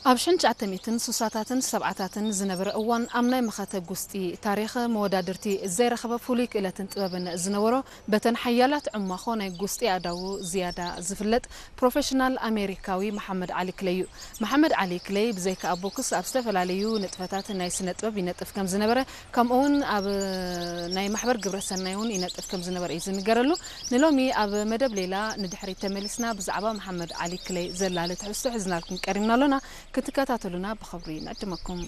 ኣብ ሽሕን ትሽዓተ ሚእትን ስሳታትን ሰብዓታትን ዝነበረ እዋን ኣብ ናይ መኸተ ጉስጢ ታሪኽ መወዳድርቲ ዘይረኸበ ፍሉይ ክእለትን ጥበብን ዝነበሮ በተን ሓያላት ዕማኾ ናይ ጉስጢ ኣእዳዉ ዝያዳ ዝፍለጥ ፕሮፌሽናል ኣሜሪካዊ መሓመድ ዓሊ ክለይ እዩ። መሓመድ ዓሊ ክለይ ብዘይካ ኣብ ቦክስ ኣብ ዝተፈላለዩ ንጥፈታት ናይ ስነ ጥበብ ይነጥፍ ከም ዝነበረ ከምኡውን ኣብ ናይ ማሕበር ግብረ ሰናይ እውን ይነጥፍ ከም ዝነበረ እዩ ዝንገረሉ። ንሎሚ ኣብ መደብ ሌላ ንድሕሪት ተመሊስና ብዛዕባ መሓመድ ዓሊ ክለይ ዘላለ ትሕዝቶ ሒዝናልኩም ቀሪብና ኣሎና። ክትከታተሉና ብኽብሪ ንዕድመኩም።